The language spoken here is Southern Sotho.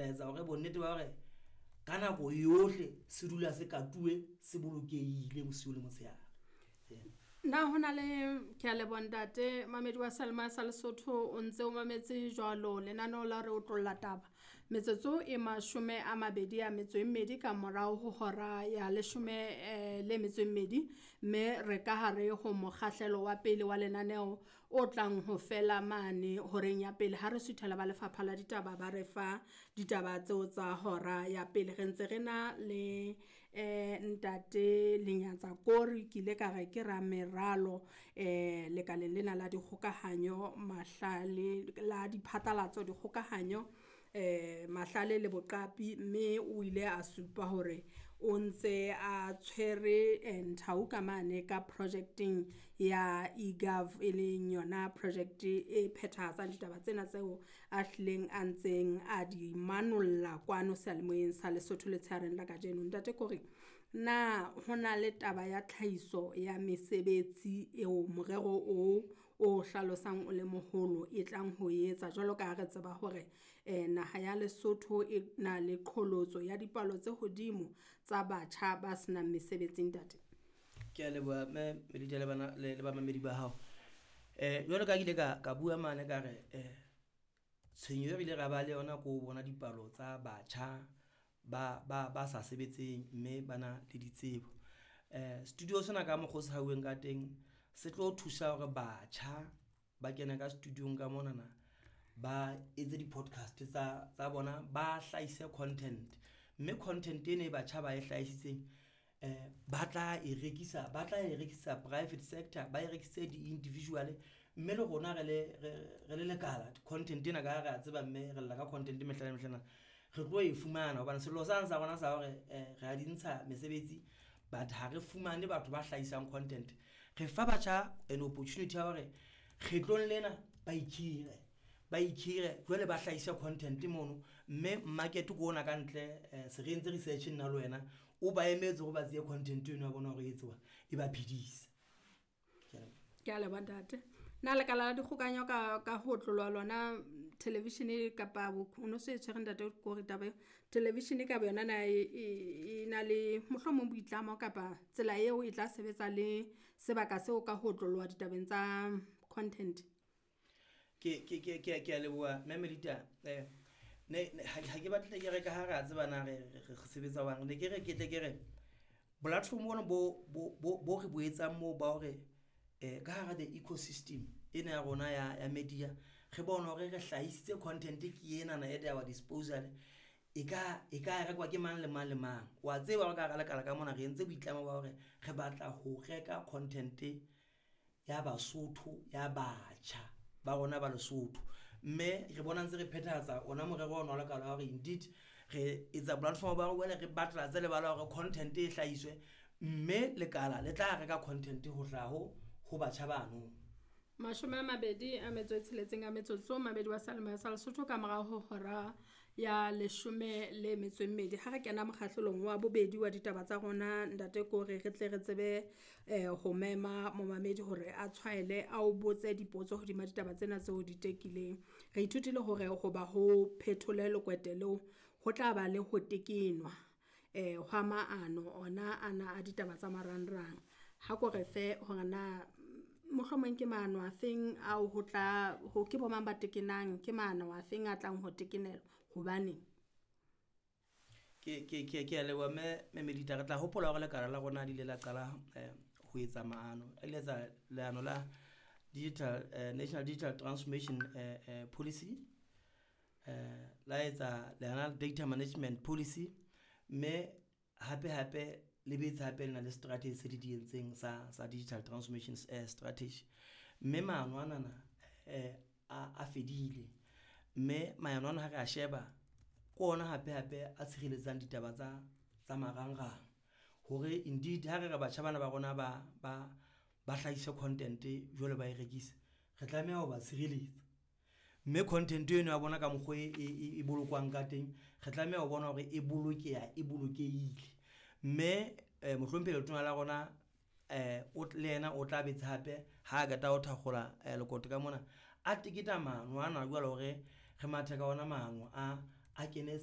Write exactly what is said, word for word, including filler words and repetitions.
tla etsa hore bonnete ba hore ka nako yohle se dula se katuwe, se bolokehile bosiu le motshehare. Na ho na le, ke a leboha ntate mamedi wa Salema sa Lesotho o ntse o mametse jwalo lenaneo la re otlolla taba. Metsotso e mashome a mabedi a metso e mmedi ka morao ho hora ya leshome eh, le metso e mmedi, mme re ka hare ho mokgahlelo wa pele wa lenaneo o tlang ho fela mane horeng ya pele ha re suthela ba lefapha la ditaba ba re fa ditaba tseo tsa hora ya pele. Re ntse re na le eh ntate Lenyatsa Kori, ke ile ka re ke rameralo eh lekaleng lena la dikgokahanyo mahlale la diphatlalatso dikgokahanyo eh mahlale le boqapi, mme o ile a supa hore o ntse a tshwere nthau ka mane ka projecteng ya eGov, e leng yona project e phethahatsang ditaba tsena tseo a hlileng a ntseng a di manolla kwano seyalemoyeng sa Lesotho letshehareng la kajeno. Ntate Kori, na hona le taba ya tlhahiso ya mesebetsi eo morero o o hlalosang o le moholo e tlang ho etsa jwalo ka ha re tseba hore eh naha ya Lesotho e na le qholotso ya dipalo tse hodimo tsa batjha ba senang mesebetsi ntate? Ke a leboha mme Melita le bana le le bamamedi ba hao. Eh jwalo ka ha ke ile ka ka bua mane ka re eh tshenyo e re ile ra ba le yona ko bona dipalo tsa batjha ba ba ba sa sebetseng mme ba na le ditsebo. Eh studio sena ka mokgwa o se hauweng ka teng, se tlo thusa hore batjha ba kene ka studio-ng ka monana, ba etse di-podcast tsa tsa bona, ba hlahise content mme content ena e batjha ba e hlahisitseng eh ba tla e rekisa, ba tla e rekisa private sector, ba e rekisitse di-individual mme le rona re le re le lekala content ena ka ha re a tseba, mme re lla ka content mehla le mehla ena re tlo e fumana hobane sello sane sa rona sa hore re a di ntsha mesebetsi, but ha re fumane batho ba hlahisang content. Re fa batjha an opportunity ya hore kgetlong lena ba ikhire, ba ikhire jwale ba hlahise content mono mme market ke ona ka ntle se re entse research nna le wena o ba emetse hore ba tseye content eno ya bona hore e etsuwa e ba phedise. Ke a leboha. Ke a leboha ntate. Na lekala la dikgokahanyo ka ka ho otloloha lona television kapa o no se e tshwere ntate Kori taba eo. Television ka boyona na e, e, e na le mohlomong boitlamo kapa tsela eo e tla sebetsa le sebaka seo ka ho otloloha ditabeng tsa content? Ke ke ke ke ke a leboha mme Melita eh ne ha ke batle ke re ka ha re a tseba na re re sebetsa jwang, ne ke re ke tle ke re platform ona bo bo bo re bo etsang moo ba hore eh ka hara the ecosystem ena ya rona ya ya media, re bone hore re hlahisitse content ke enana at our disposal e ka e ka rekwa ke mang le mang le mang. Wa tseba hore ka hara lekala ka mona re entse boitlamo ba hore re batla ho reka content ya Basotho ya batjha ba rona ba Lesotho, mme re bona ntse re phethahatsa ona morero ona wa lekala wa hore indeed re etsa platform ba hore jwale re batla tse lebala hore content e hlahiswe, mme lekala le tla reka content ho hlaha ho ho batjha bano. Mashome a mabedi a metso e tsheletseng a metsotso mabedi wa Salema sa Lesotho ka morao ho hora ya leshome le metso e mmedi. Ha re kena mokgahlelong wa bobedi wa ditaba tsa rona ntate Kori, re tle re tsebe eh ho mema momamedi hore a tshwaele a o botse dipotso hodima ditaba tsena tseo di tekileng. Re ithutile hore hoba ho phethole lekwete leo ho tla ba le ho tekenwa eh hwa maano ona ana a ditaba tsa marangrang. Ha ko re fe hore na mohlomong ke maano a feng ao ho tla ho ke bo mang ba tekenang, ke maano a feng a tlang ho tekenelwa, hobaneng? Ke ke ke ke a leboha mme mme Melita re tla hopola hore lekala la rona le ile la qala eh ho etsa maano, le etsa leano la digital eh, National Digital Transformation eh, eh, Policy, eh la etsa leano la data management policy, mme hape hape le boetse hape le na le strategy se di di entseng sa sa digital transformation eh, strategy. Mme maano anana eh a a fedile, mme maano ana ha re a sheba ke ona hape hape a tshireletsang ditaba tsa tsa marangrang hore indeed ha re re batjha bana ba rona ba ba ba hlahise content jwale ba e rekise, re tlameha ho ba tshireletsa. Mme content eno ya bona ka mokgwa e, e, e bolokwang ka teng, re tlameha ho bona hore e bolokeha, e bolokehile. Mme eh mohlomphehi letona la rona eh o le yena o tla betse hape ha qeta ho thakgola eh lekoto ka mona, a teketa maano ana jwale hore re mathe ka ona maano a a kene.